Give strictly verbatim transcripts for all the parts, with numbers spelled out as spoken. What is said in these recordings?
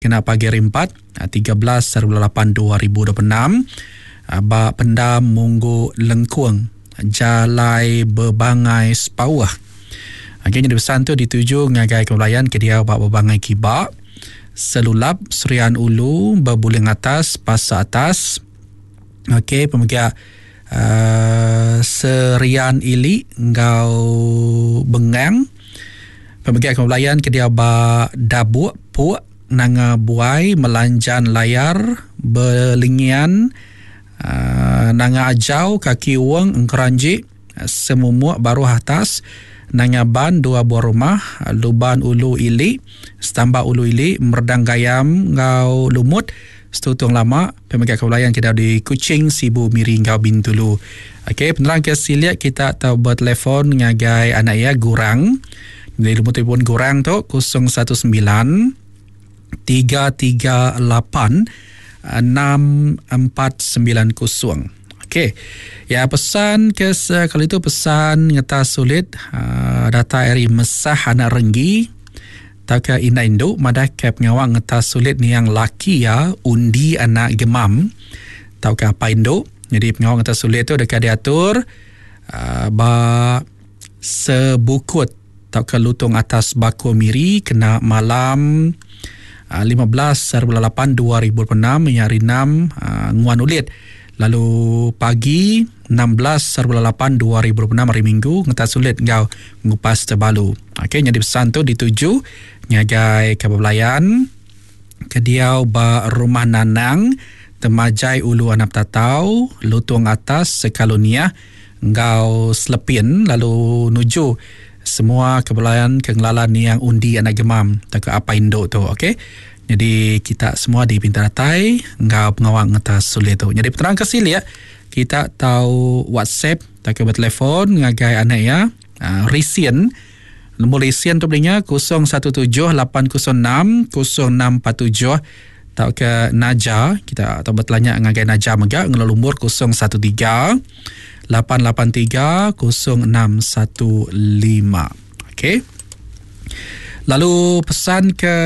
Kena pagi hari empat, tiga belas hari bulan lapan dua ribu dua puluh enam, ba Pendam Munggu Lengkung, Jalai Bebangai Sepauh. Okey, jadi pesan tu dituju ngagai kebelayan ke dia ba Bebangai Kiba, Selulap, Serian Ulu, Bebuling Atas, Pasar Atas. Okey, pemegang uh, Serian Ili ngau Bengang. Pemegang kebelayan ke dia ba Dabuk, Puk, Nanga Buai, Melanjan Layar, Belingian, uh, Nanga Ajau, Kaki Wong, Engkeranji, Semumuk Baruh Atas, Nanga Ban, dua buah rumah, Luban Ulu Ili, Setambak Ulu Ili, Merdang Gayam, Ngau Lumut, Setutung Lama. Pemegang kebelayan kita di Kuching, Sibu, Miri, Ngau Bintulu. Okey, penerang ke siliak kita tahu bertelefon ngagai anak ya Gurang. Jadi lumut telefon Gurang tu kosong satu sembilan tiga tiga lapan enam empat sembilan kosong. Okey. Ya, pesan ke kali itu pesan ngetas sulit uh, data eri mesah anak renggi taka indah induk madah kep ngawang ngetas sulit ni yang laki ya undi anak gemam tauka apa induk. Jadi pengawang ngetas sulit tu dekat diatur uh, ba sebukut tauka lutung atas bako miri kena malam lima belas hari bulan lapan dua ribu dua puluh enam yang hari enam uh, nguan ulit. Lalu pagi enam belas hari bulan lapan dua ribu dua puluh enam hari Minggu ngetas sulit ngau ngupas terbalu. Okey, jadi pesan tu dituju ngagai kebelayan kediau ba rumah Nanang Temajai Ulu Anap Tatau Lutung Atas Sekalunia ngau Selepin, lalu nuju semua kebelayan kengelalan yang undi anak gemam tak apa induk tu. Okey, jadi kita semua di Pintar Datai ngau pengawang ngetas sulit tu. Jadi peterang ke sili ya, kita tahu WhatsApp tak ke bertelefon ngagai anak ya uh, Risien. Nombor Risien tu belinya kosong satu tujuh lapan kosong enam kosong enam empat tujuh tak ke Naja, kita atau bertelanya ngagai Naja mega ngelo lumur kosong satu tiga lapan lapan tiga kosong enam satu lima. Okey. Lalu pesan ke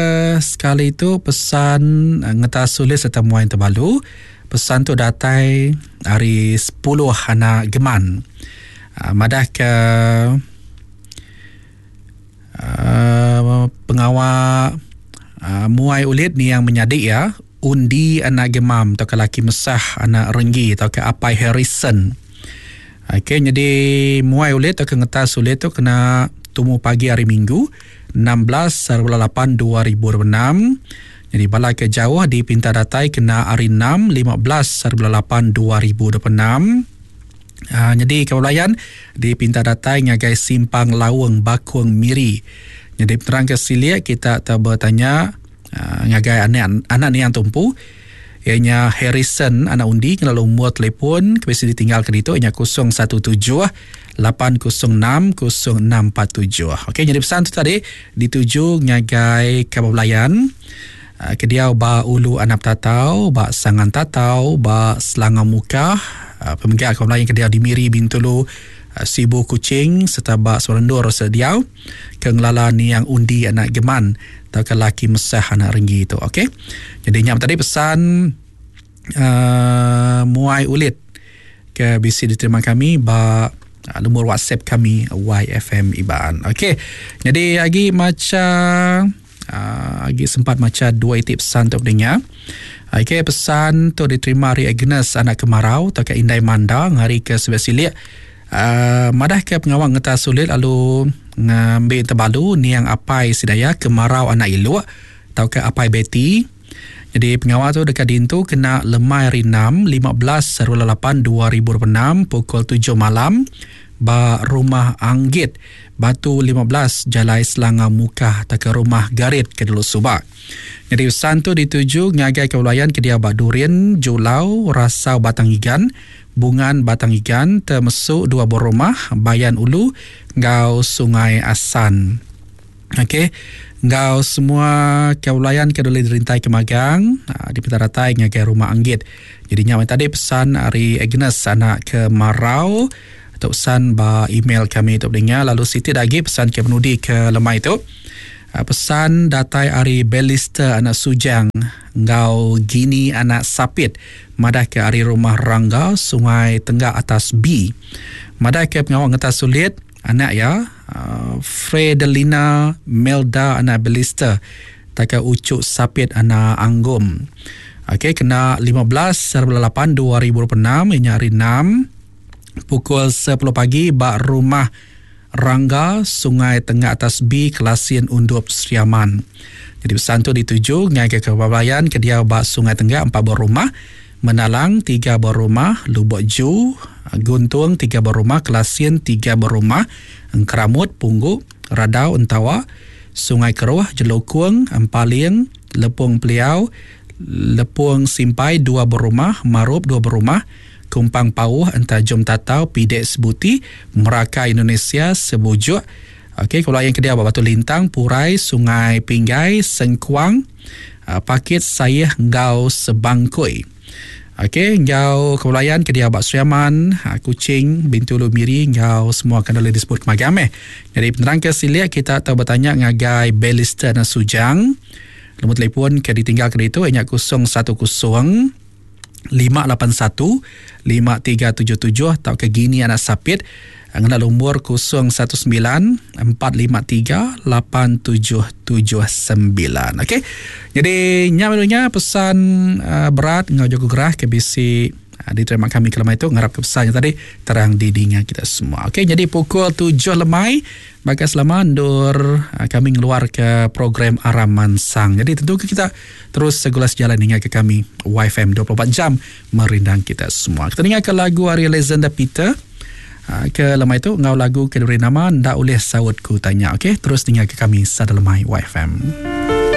sekali itu pesan ngetas sulit serta muain terbalu. Pesan tu datai hari sepuluh anak geman. Uh, madah ke uh, pengawal uh, muai ulit ni yang menyadik ya, undi anak gemam atau ke laki mesah anak renggi atau ke apai Harrison. Okey, jadi muai ulit atau ke ngetas ulit tu kena tumu pagi hari Minggu enam belas hari bulan lapan dua ribu dua puluh enam. Jadi bala ke jauh di Pintar Datai kena hari enam lima belas hari bulan lapan dua ribu dua puluh enam. Ha, jadi kebelayan di Pintar Datai ngagai Simpang Lawang Bakung Miri. Jadi penerang ke siliak kita tak bertanya uh, ngagai anak anak ni yang tumpu ianya Harrison anak undi kena umur telefon kebisi ditinggal ke ditu ianya kosong satu tujuh lapan kosong enam kosong enam empat tujuh. Okey, jadi pesan tu tadi dituju ngagai kebelayan uh, ke dia ba Ulu Anap Tatau, ba Sangan Tatau, ba Selangor Muka, uh, pemegang kebelayan ke dia di Miri, Bintulu, uh, Sibu, Kuching serta ba Serendur sediau ke ngelala ni yang undi anak geman atau ke laki mesah anak renggi itu. Okey. Jadi nyam tadi pesan uh, muai ulit ke B C diterima kami ba uh, nombor WhatsApp kami Y F M Iban. Okey. Jadi lagi macam uh, lagi sempat maca dua iti pesan untuk pendengar. Okey, pesan tu diterima hari Agnes anak kemarau atau ke Indai Manda hari ke Sebelah Silik. Uh, madah ke pengawang ngetas sulit lalu ngambil terbalu niang apai sidaya kemarau anak iluk atau ke apai Betty. Jadi pengawal tu dekat dintu kena lemai hari enam lima belas hari bulan lapan dua ribu dua puluh enam pukul tujuh malam ba rumah Anggit Batu lima belas Jalai Selangor Mukah atau ke rumah Garit ke Dulu Subak. Jadi pesan tu dituju ngagai kebelayan ke dia ba Durian Julau Rasau Batang Igan Bungan Batang Igan termasuk dua buah rumah Bayan Ulu ngau Sungai Asan. Okey, ngau semua kebelayan ke dulu dirintai ke magang di Petaratai ngagai rumah Anggit. Jadi nyaman tadi pesan hari Agnes anak ke Marau atau pesan ba email kami untuk dengar. Lalu Siti lagi pesan ke penudi ke lemai tu. Pesan datai ari Belister anak Sujang ngau Gini anak Sapit madah ke ari rumah Rangga Sungai Tenggak Atas B. Madah ke pengawa ngetas sulit anak ya uh, Fredelina Melda anak Belister taka Ucuk Sapit anak Anggum. Okey, kena lima belas lapan dua ribu dua puluh enam ini hari enam pukul sepuluh pagi ba rumah Rangga Sungai Tengah Atas B Kelasin Undup Sriaman. Jadi pesan tu dituju ngagai ke Babayan ke dia ba Sungai Tenggak empat buah rumah, Menalang tiga buah rumah, Lubok Ju, Guntung tiga buah rumah, Kelasin tiga buah rumah, Engkeramut, Pungguk, Radau, Entawa, Sungai Keruh, Jelukung, Empaling, Lepung Peliau, Lepung Simpai dua buah rumah, Marup dua buah rumah, Kumpang Pauh, Entajum Tatau, Pidek Sebuti, Meraka Indonesia, Sebujuk. Okey, kalau yang kedua Batu Lintang, Purai, Sungai Pinggai, Sengkuang, Pakit Sayeh, Ngau Sebangkui. Okey, ngau kepulauan kedia Bak Sriaman, Kuching, Bintulu Miri, ngau semua akan boleh disebut kemagam eh. Jadi penerang ke siliak kita tahu bertanya ngagai Belister dan Sujang. Nombor telefon ke ditinggal ke itu hanya kosong satu kosong lima lapan satu lima tiga tujuh tujuh atau ke Gini anak Sapit ngena nombor kosong satu sembilan empat lima tiga lapan tujuh tujuh sembilan. Okey. Jadi nyamanunya pesan uh, berat ngau jago gerah ke bisi uh, diterima kami kelama itu ngarap ke pesannya tadi terang di dinga kita semua. Okey, jadi pukul tujuh lemai maka selama ndur uh, kami ngeluar ke program Aram Mansang. Jadi tentu kita terus segulas jalan hingga ke kami Y F M dua puluh empat jam merindang kita semua. Kita dengar ke lagu Ari Alexander Peter ke lemai itu ngau lagu ke diberi nama ndak oleh saut ku tanya. Okey, terus dengar ke kami sada lemai Y F M.